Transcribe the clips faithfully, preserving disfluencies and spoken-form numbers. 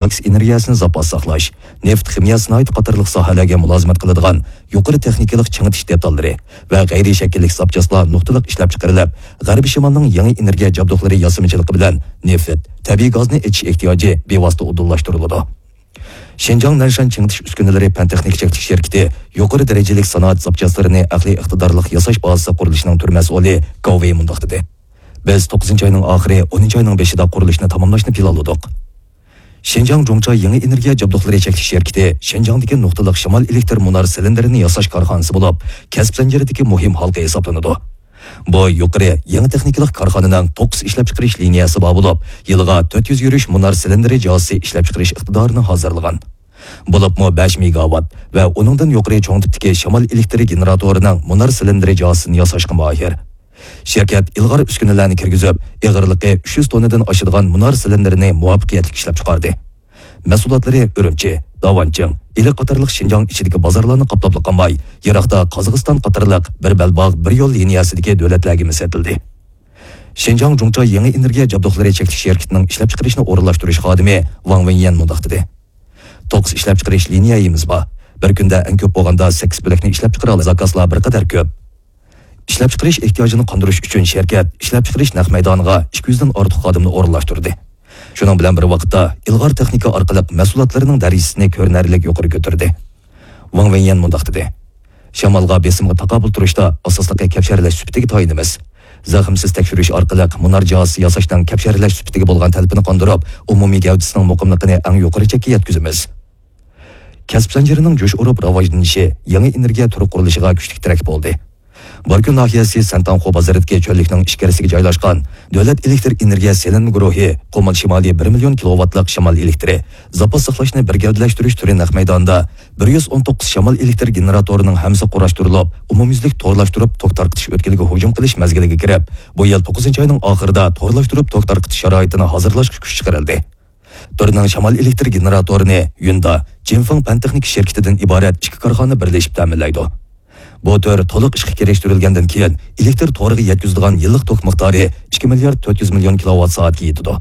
ئاكسىي ئېنېرگىيەسىنى زاپاس ساقلاش، نېفىت، خىمىيە سانائىتى قاتارلىق ساھەلەرگە مۇلازىمەت قىلىدىغان يۇقىرى تېخنىكىلىق چىڭىتىش دېتاللىرى ۋە غەيرىي شەكىللىك زاپچاسلار نۇقتىلىق ئىشلەپچىقىرىلىپ، غەربىي شىمالنىڭ يېڭى ئېنېرگىيە جابدۇقلىرى ياسىمىچىلىقى بىلەن نېفىت، تەبىئىي گازنى ئېچىش ئېھتىياجى بىۋاسىتە ئۇدۇللاشتۇرۇلىدۇ. شىنجاڭ نەنشەن چىڭىتىش ئۈسكۈنىلىرى پەن-تېخنىكا چەكلىك شىركىتى يۇقىرى دەرىجىلىك سانائەت زاپچاسلىرىنى ئەقلىي ئىقتىدارلىق ياساش بازىسى قۇرۇلۇشىنىڭ تۈر مەسئۇلى گاۋ ۋېي مۇنداق دېدى: بىز توققۇزىنچى ئاينىڭ ئاخىرى، ئونىنچى ئاينىڭ بېشىدا قۇرۇلۇشنى تاماملاشنى پىلانلىدۇق. شىنجاڭ جۇڭچا يېڭى ئېنېرگىيە جابدۇقلىرى چەكلىك شىركىتى شىنجاڭدىكى نۇقتىلىق شامال ئېلېكتر مۇنار سىلىندىرىنى ياساش كارخانىسى بولۇپ، كەسىپ زەنجىرىدىكى مۇھىم ھالقا ھېسابلىنىدۇ. بۇ يۇقىرى يېڭى تېخنىكىلىق كارخانىنىڭ توققۇز ئىشلەپچىقىرىش لىنىيەسى بار بولۇپ، يىلىغا تۆت يۈز يۈرۈش مۇنار سىلىندىرى جازىسى ئىشلەپچىقىرىش ئىقتىدارىنى ھازىرلىغان. بولۇپمۇ بەش مېگاۋات ۋە ئۇنىڭدىن يۇقىرى چوڭ تىپتىكى شامال ئېلېكتر گېنېراتورىنىڭ مۇنار سىلىندىرى جازىسىنى ياساشقا ماھىر. شىركەت ئىلغار ئۈسكۈنىلەرنى كىرگۈزۈپ، ئېغىرلىقى ئۈچ يۈز توننىدىن ئاشىدىغان مۇنار سىلىندىرىنى مۇۋەپپەقىيەتلىك ئىشلەپچىقاردى. مەھسۇلاتلىرى ئۈرۈمچى، داۋانچىڭ، ئىلى قاتارلىق شىنجاڭ ئىچىدىكى بازارلارنى قاپلاپلا قالماي، يىراقتا قازاقىستان قاتارلىق بىر بەلباغ، بىر يول لىنىيەسىدىكى دۆلەتلەرگىمۇ سېتىلدى. شىنجاڭ جۇڭچا يېڭى ئېنېرگىيە جابدۇقلىرى چەكلىك شىركىتىنىڭ ئىشلەپچىقىرىشنى ئورۇنلاشتۇرۇش خادىمى ۋاڭ ۋېنيەن مۇنداق دېدى: توققۇز ئىشلەپچىقىرىش لىنىيەيىمىز بار. بىر كۈندە ئەڭ كۆپ بولغاندا سەككىز بۆلەكنى ئىشلەپچىقىرالايمىز. زاكازلار بىر قەدەر كۆپ. ئىشلەپچىقىرىش ئېھتىياجىنى قاندۇرۇش ئۈچۈن شىركەت ئىشلەپچىقىرىش نەق مەيدانىغا ئىككى يۈزدىن ئارتۇق خادىمنى ئورۇنلاشتۇردى. شۇنىڭ بىلەن بىر ۋاقىتتا، ئىلغار تېخنىكا ئارقىلىق مەھسۇلاتلىرىنىڭ دەرىجىسىنى كۆرۈنەرلىك يۇقىرى كۆتۈردى. ۋاڭ ۋېنيەن مۇنداق دېدى: شامالغا، بېسىمغا تاقابىل تۇرۇشتا ئاساسلىقى كەپشەرلەش سۈپىتىگە تايىنىمىز. زەخىمسىز تەكشۈرۈش ئارقىلىق مۇنار جازىسى ياساشنىڭ كەپشەرلەش سۈپىتىگە بولغان تەلىپىنى قاندۇرۇپ، ئومۇمىي گەۋدىسىنىڭ مۇقىملىقىنى ئەڭ يۇقىرى چەككە يەتكۈزىمىز. كەسىپ زەنجىرىنىڭ جۇش ئۇرۇپ راۋاجلىنىشى يېڭى ئېنېرگىيە تۈرى قۇرۇلۇشىغا كۈچلۈك تىرەك بولدى. باركۈن ناھىيەسى سەنتاڭخۇ بازىرىدىكى چۆللۈكنىڭ ئىچكىرىسىگە جايلاشقان دۆلەت ئېلېكتر ئېنېرگىيە سېلىنما گۇرۇھى قۇمۇل شىمالىي بىر مىليون كىلوۋاتلىق شامال ئېلېكتىرى زاپاس ساقلاشنى بىر گەۋدىلەشتۈرۈش تۈرى نەق مەيدانىدا بىر يۈز ئون توققۇز شامال ئېلېكتر گېنېراتورىنىڭ ھەممىسى قۇراشتۇرۇلۇپ، ئومۇميۈزلۈك تورلاشتۇرۇپ توك تارقىتىش ئۆتكىلىگە ھۇجۇم قىلىش مەزگىلىگە كىرىپ، بۇ يىل توققۇزىنچى ئاينىڭ ئاخىرىدا تورلاشتۇرۇپ توك تارقىتىش شارائىتىنى ھازىرلاشقا كۈچ چىقىرىلدى. تۈرنىڭ شامال ئېلېكتر گېنېراتورىنى يۈندا، جىنفېڭ پەن تېخنىكا شىركىتىدىن ئىبارەت ئىككى كارخانا بىرلىشىپ تەمىنلەيدۇ. بۇ تۈر تولۇق ئىشقا كىرىشتۈرۈلگەندىن كېيىن، ئېلېكتر تورىغا يەتكۈزىدىغان يىللىق توك مىقدارى ئىككى مىليارد تۆت يۈز مىليون كىلوۋات سائەتكە يېتىدۇ.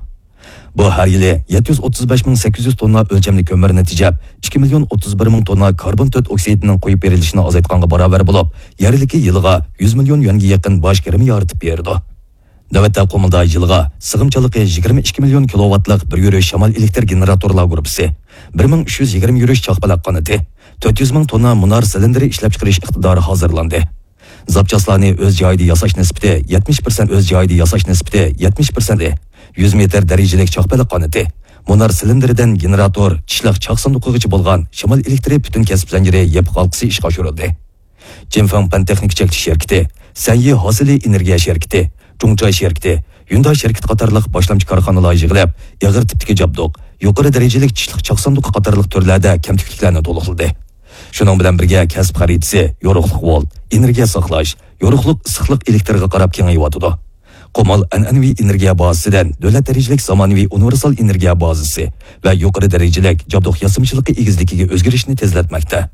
بۇ ھەر يىلى يەتتە يۈز ئوتتۇز بەش مىڭ سەككىز يۈز توننا ئۆلچەملىك كۆمۈرنى تېجەپ، ئىككى مىليون ئوتتۇز بىر مىڭ توننا كاربون تۆت ئوكسىدىنىڭ قويۇپ بېرىلىشىنى ئازايتقانغا باراۋەر بولۇپ، يەرلىككە يىلىغا يۈز مىليون يۈەنگە يېقىن باج كىرىمى يارىتىپ بېرىدۇ. نۆۋەتتە قۇمۇلدا يىلىغا سىغىمچانلىقى يىگىرمە ئىككى مىليون كىلوۋاتلىق بىر يۈرۈش شامال ئېلېكتر گېنېراتورلار گۇرۇپپىسى، بىر مىڭ ئۈچ يۈز يىگىرمە يۈرۈش چاقپەلەك قانىتى، تۆت يۈز مىڭ توننا مۇنار سىلىندىرى ئىشلەپچىقىرىش ئىقتىدارى ھازىرلاندى. زاپچاسلارنى ئۆز جايىدا ياساش نىسبىتى يەتمىش پىرسەنت، ئۆز جايىدا ياساش نىسبىتى يەتمىش پىرسەنت، يۈز مېتىر دەرىجىلىك چاقپەلەك قانىتى، مۇنار سىلىندىرىدىن گېنېراتور، چىشلىق چاق ساندۇقىغىچە بولغان شامال ئېلېكتىرى پۈتۈن كەسىپ زەنجىرى يېپىق ھالقىسى ئىشقا ئاشۇرۇلدى. جىنفېڭ پەن تېخنىكا چەكلىك شىركىتى، سەنيى ھاسىلى ئېنېرگىيە شىركىتى، جۇڭچاي شىركىتى، يۈنداي شىركىتى قاتارلىق باشلامچى كارخانىلار يىغىلىپ، ئېغىر تىپتىكى جابدۇق، يۇقىرى دەرىجىلىك چىشلىق چاق ساندۇقى قاتارلىق تۈرلەردە كەمتۈكلۈكلەرنى تولۇقلىدى. شۇنىڭ بىلەن بىرگە، كەسىپ خەرىتىسى يورۇقلۇق ۋولت، ئېنېرگىيە ساقلاش، يورۇقلۇق ئىسسىقلىق ئېلېكتىرغا قاراپ كېڭىيىۋاتىدۇ. قۇمۇل ئەنئەنىۋى ئېنېرگىيە بازىسىدىن دۆلەت دەرىجىلىك زامانىۋى ئۇنىۋېرسال ئېنېرگىيە بازىسى ۋە يۇقىرى دەرىجىلىك جابدۇق ياسىمىچىلىقى ئېگىزلىكىگە ئۆزگىرىشنى تېزلەتمەكتە.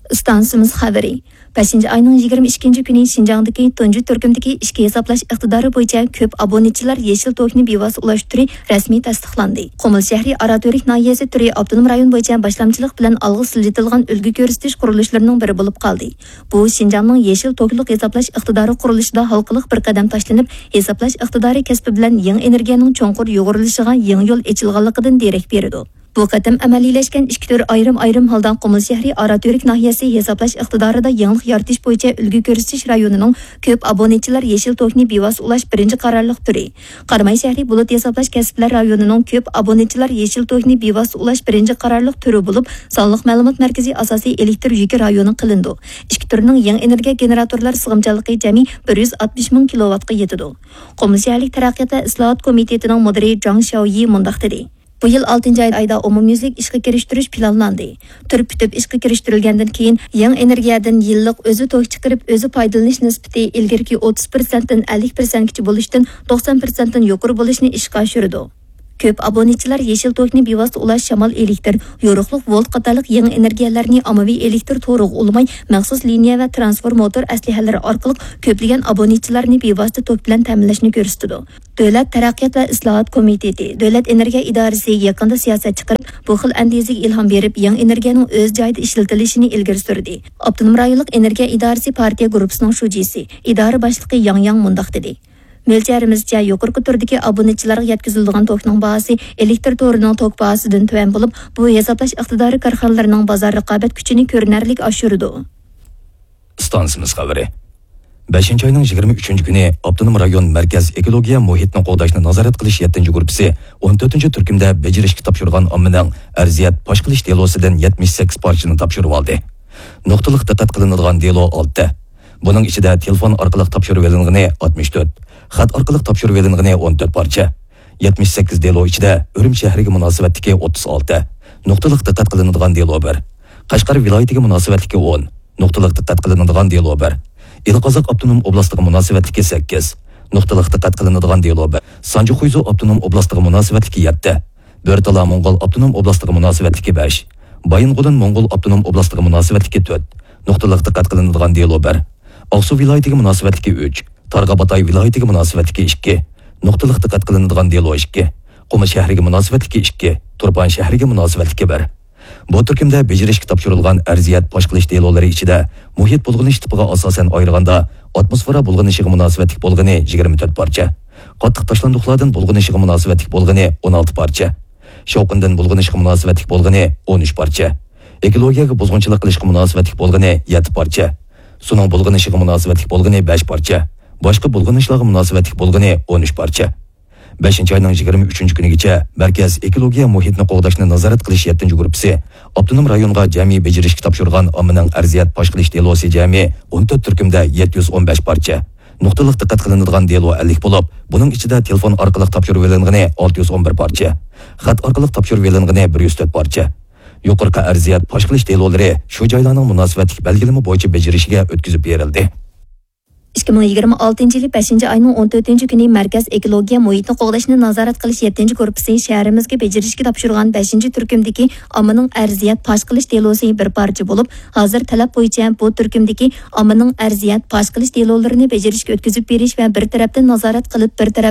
ئىستانسىمىز خەۋىرى. بەشىنچى ئاينىڭ يىگىرمە ئىككىنچى كۈنى شىنجاڭدىكى تۇنجى تۈركۈمدىكى ئىچكى ھېسابلاش ئىقتىدارى بويىچە كۆپ ئابونېنتچىلار يېشىل توكنى بىۋاسىتە ئۇلاش تۈرى رەسمىي تەستىقلاندى. قۇمۇل شەھىرى ئاراتۈرك ناھىيەسى تۈرى ئاپتونوم رايون بويىچە باشلامچىلىق بىلەن ئالغا سىلجىتىلغان ئۈلگە كۆرسىتىش قۇرۇلۇشلىرىنىڭ بىرى بولۇپ قالدى. بۇ شىنجاڭنىڭ يېشىل توكلۇق ھېسابلاش ئىقتىدارى قۇرۇلۇشىدا ھالقىلىق بىر قەدەم تاشلىنىپ، ھېسابلاش ئىقتىدارى كەسپى بىلەن يېڭى ئېنېرگىيەنىڭ چوڭقۇر يۇغۇرۇلۇشىغا يېڭى يول ئېچىلغانلىقىدىن دېرەك بېرىدۇ. بۇ قېتىم ئەمەلىيلەشكەن ئىككى تۈر ئايرىم-ئايرىم ھالدا قۇمۇل شەھىرى ئاراتۈرك ناھىيەسى ھېسابلاش ئىقتىدارىدا يېڭىلىق يارىتىش بويىچە ئۈلگە كۆرسىتىش رايونىنىڭ كۆپ ئابونېنتچىلار يېشىل توكنى بىۋاسىتە ئۇلاش بىرىنچى قارارلىق تۈرى، قاراماي شەھىرى بۇلۇت ھېسابلاش كەسىپلەر رايونىنىڭ كۆپ ئابونېنتچىلار يېشىل توكنى بىۋاسىتە ئۇلاش بىرىنچى قارارلىق تۈرى بولۇپ، سانلىق مەلۇمات مەركىزى ئاساسىي ئېلېكتر يۈكى رايونى قىلىنىدۇ. ئىككى تۈرنىڭ يېڭى ئېنېرگىيە گېنېراتورلار سىغىمچانلىقى جەمئىي بىر يۈز ئاتمىش مىڭ كىلوۋاتقا يېتىدۇ. قۇمۇل شەھەرلىك تەرەققىيات ۋە ئىسلاھات كومىتېتىنىڭ مۇدىرى جاڭ شياۋيى مۇنداق دېدى. بۇ يىل ئالتىنچى ئايدا ئومۇميۈزلۈك ئىشقا كىرىشتۈرۈش پىلانلاندى. تۈر پۈتۈپ ئىشقا كىرىشتۈرۈلگەندىن كېيىن، يېڭى ئېنېرگىيەدىن يىللىق ئۆزى توك چىقىرىپ، ئۆزى پايدىلىنىش نىسبىتى ئىلگىرىكى ئوتتۇز پىرسەنتتىن ئەللىك پىرسەنتكىچە بولۇشتىن توقسان پىرسەنتتىن يۇقىرى بولۇشنى ئىشقا ئاشۇرىدۇ. كۆپ ئابۇنىچىلار يېشىل توكنى بىۋاسىتە ئۇلاش، شامال ئېلېكتر، يورۇقلۇق ۋولت قاتارلىق يېڭى ئېنېرگىيەلەرنى ئاممىۋى ئېلېكتر تورىغا ئۇلىماي، مەخسۇس لىنىيە ۋە ترانسفورماتور ئەسلىھەلىرى ئارقىلىق كۆپلىگەن ئابۇنىچىلارنى بىۋاسىتە توك بىلەن تەمىنلەشنى كۆرسىتىدۇ. دۆلەت تەرەققىيات ۋە ئىسلاھات كومىتېتى، دۆلەت ئېنېرگىيە ئىدارىسى يېقىندا سىياسەت چىقىرىپ، بۇ خىل ئەندىزىگە ئىلھام بېرىپ، يېڭى ئېنېرگىيەنىڭ ئۆز جايىدا ئىشلىتىلىشىنى ئىلگىرى سۈردى. ئاپتونوم رايونلۇق ئېنېرگىيە ئىدارىسى پارتىيە گۇرۇپپىسىنىڭ شۇجىسى، ئىدارە باشلىقى ياڭ ياڭ مۇنداق دېدى: مۆلچەرىمىزچە، يۇقىرىقى تۈردىكى ئابۇنىچىلارغا يەتكۈزۈلىدىغان توكنىڭ باھاسى ئېلېكتر تورىنىڭ توك باھاسىدىن تۆۋەن بولۇپ، بۇ ھېسابلاش ئىقتىدارى كارخانىلىرىنىڭ بازار رىقابەت كۈچىنى كۆرۈنەرلىك ئاشۇرىدۇ. ئىستانسىمىز خەۋىرى. بەشىنچى ئاينىڭ يىگىرمە ئۈچىنچى كۈنى ئاپتونوم رايون مەركەز ئېكولوگىيە مۇھىتنى قوغداشنى نازارەت قىلىش يەتتىنچى گۇرۇپپىسى ئون تۆتىنچى تۈركۈمدە بېجىرىشكە تاپشۇرغان ئاممىنىڭ ئەرزىيەت پاش قىلىش دېلوسىدىن يەتمىش سەككىز پارچىنى تاپشۇرۇۋالدى. نۇقتىلىق دىققەت قىلىنىدىغان دېلو ئالتە. بۇنىڭ ئىچىدە تېلېفون ئارقىلىق تاپشۇرۇۋېلىنغىنى ئاتمىش تۆت، خەت ئارقىلىق تاپشۇرۇۋېلىنغىنى ئون تۆت پارچە. يەتمىش سەككىز دېلو ئىچىدە ئۈرۈمچى شەھىرىگە مۇناسىۋەتلىكى ئوتتۇز ئالتە، نۇقتىلىق دىققەت قىلىنىدىغان دېلو بىر. قەشقەر ۋىلايىتىگە مۇناسىۋەتلىكى ئون، نۇقتىلىق دىققەت قىلىنىدىغان دېلو بىر. ئىلى قازاق ئاپتونوم ئوبلاستىغا مۇناسىۋەتلىكى سەككىز، نۇقتىلىق دىققەت قىلىنىدىغان دېلو بىر. سانجى خۇيزۇ ئاپتونوم ئوبلاستىغا مۇناسىۋەتلىكى يەتتە، بۆرتالا موڭغۇل ئاپتونوم ئوبلاستىغا مۇناسىۋەتلىكى بەش، بايىنغولىن موڭغۇل ئاپتونوم ئوبلاستىغا مۇناسىۋەتلىكى تۆت، نۇقتىلىق دىققەت قىلىنىدىغان دېلو بىر. ئاقسۇ ۋىلايىتىگە مۇناسىۋەتلىكى ئۈچ، تارباغاتاي ۋىلايىتىگە مۇناسىۋەتلىكى ئىككى، نۇقتىلىق دىققەت قىلىنىدىغان دېلو ئىككى، قۇمۇل شەھىرىگە مۇناسىۋەتلىكى ئىككى، تۇرپان شەھىرىگە مۇناسىۋەتلىكى بىر. بۇ تۈركۈمدە بېجىرىشكە تاپشۇرۇلغان ئەرزىيەت پاش قىلىش دېلولىرى ئىچىدە مۇھىت بۇلغىنىش تىپىغا ئاساسەن ئايرىغاندا، ئاتموسفېرا بۇلغىنىشىغا مۇناسىۋەتلىك بولغىنى يىگىرمە تۆت پارچە، قاتتىق تاشلاندۇقلاردىن بۇلغىنىشىغا مۇناسىۋەتلىك بولغىنى ئون ئالتە پارچە، شاۋقۇندىن بۇلغىنىشقا مۇناسىۋەتلىك بولغىنى ئون ئۈچ پارچە، ئېكولوگىيەگە بۇزغۇنچىلىق قىلىشقا مۇناسىۋەتلىك بولغىنى يەتتە پارچە، سۇنىڭ بۇلغىنىشىغا مۇناسىۋەتلىك بولغىنى بەش پارچە، باشقا بۇلغىنىشلارغا مۇناسىۋەتلىك بولغىنى ئون ئۈچ پارچە. بەشىنچى ئاينىڭ يىگىرمە ئۈچىنچى كۈنىگىچە مەركەز ئېكولوگىيە مۇھىتنى قوغداشنى نازارەت قىلىش يەتتىنچى گۇرۇپپىسى ئاپتونوم رايونغا جەمئىي بېجىرىشكە تاپشۇرغان ئاممىنىڭ ئەرزىيەت پاش قىلىش دېلوسى جەمئىي ئون تۆت تۈركۈمدە يەتتە يۈز ئون بەش پارچە، نۇقتىلىق دىققەت قىلىنىدىغان دېلو ئەللىك بولۇپ، بۇنىڭ ئىچىدە تېلېفون ئارقىلىق تاپشۇرۇۋېلىنغىنى ئالتە يۈز ئون بىر پارچە، خەت ئارقىلىق تاپشۇرۇۋېلىنغىنى بىر يۈز تۆت پارچە. يۇقىرىقى ئەرزىيەت پاش قىلىش دېلولىرى شۇ جايلارنىڭ مۇناسىۋەتلىك بەلگىلىمە بويىچە بېجىرىشىگە ئۆتكۈزۈپ بېرىلدى. ئىككى مىڭ يىگىرمە ئالتىنچى يىلى بەشىنچى ئاينىڭ ئون تۆتىنچى كۈنى مەركەز ئېكولوگىيە مۇھىتنى قوغداشنى نازارەت قىلىش يەتتىنچى گۇرۇپپىسى شەھىرىمىزگە بېجىرىشكە تاپشۇرغان بەشىنچى تۈركۈمدىكى ئاممىنىڭ ئەرزىيەت پاش قىلىش دېلوسى بىر پارچە بولۇپ، ھازىر تەلەپ بويىچە بۇ تۈركۈمدىكى ئاممىنىڭ ئەرزىيەت پاش قىلىش دېلولىرىنى بېجىرىشكە ئۆتكۈزۈپ بېرىش ۋە بىر تەرەپتىن نازارەت قىلىپ، بىر تەرەپ